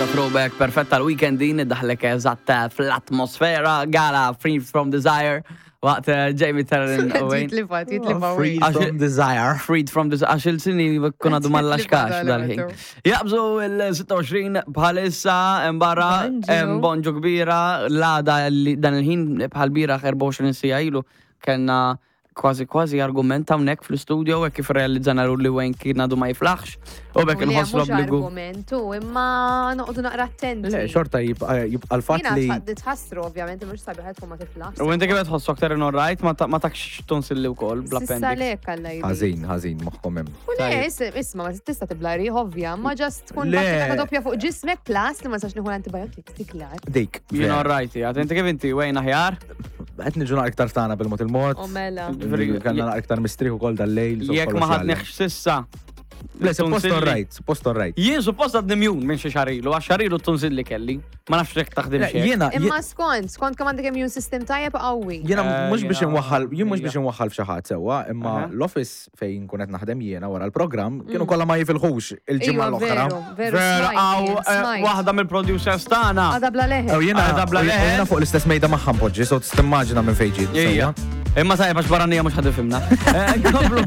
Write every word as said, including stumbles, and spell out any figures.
Biċċa throwback perfetta l-weekend din, daħlek eżatt fl-atmosfera, Gala Free From Desire, waqt eh, Jamie Terran Owen. Jitlifa, jitlifa. Free Għax- from desire. Freed from Desire, għax il-sini kun għadu mal-laxkax dal-ħin. Jaqbżu il-sitta u għoxrin bħalissa barra Bonġu. Bonġu kbira, l-għada li dan il-ħin bħal bieraħ erbgħa u għoxrin siegħa ilu kellna kważi kważi argument hawnhekk fl-studio hekk kif realizzana li Wayne kien għadu ma jiflaħx u bekk nħoss l-obbligu. Argumentu, imma noqogħdu naqra attenti. Le, xorta jibqa' jibqa' l-fatt Jiena li tħassru, ovvjament, mhux sabiħ tkun ma tiflaħx. U inti kif tħossu aktar in right, ma ta- ma takx tonsilli wkoll Sissa bl-appendix. lek għalla jidi. Ħażin, ħażin, moħħom hemm. U le, is- isma, ma tista' tibla riħ, ovvja, ma just tkun Le. battika doppja fuq ġismek plus li ma nistax nieħu l-antibiotics, tiklar. Dik. Jien all right, għad inti kif inti, Wayne, aħjar? Qed niġu naqra iktar tagħna bil-mod il-mod. U mela. Ġifieri, Kellna naqra iktar mistrieħ ukoll dal-lejl. So Jekk kollox ma jgħallem. ħadniex sissa. Le, suppost Tonsilli. all right, suppost all right. Jien suppost għadni immune minn xi xahar ilu, għax xahar ilu tonsilli kelli. Ma nafx jekk taħdem Le, xejn. Jiena, Imma skont, skont kemm għandek immune system tajjeb qawwi. Jiena Eh, mhux biex jiena- inwaħħal, jien mhux ija. biex inwaħħal f'xi ħadd sewwa, imma Aha. l-office fejn kun qed naħdem jiena wara l-programm kienu kollha ma jifilħux il-ġimgħa Iva, l-oħra. veru, veru, Vera, smajt, għaw jien, eh, smajt. waħda mill-producers tagħna. Għada bla leħe. U jiena Għada bla u leħen. jiena fuq l-istess mejda magħha npoġġi, so timmaġina minn fejn ġiet. Ija. Sewwa. Imma tajba għax barranija mhux ħad ifhimna. Eh, Nkomplu.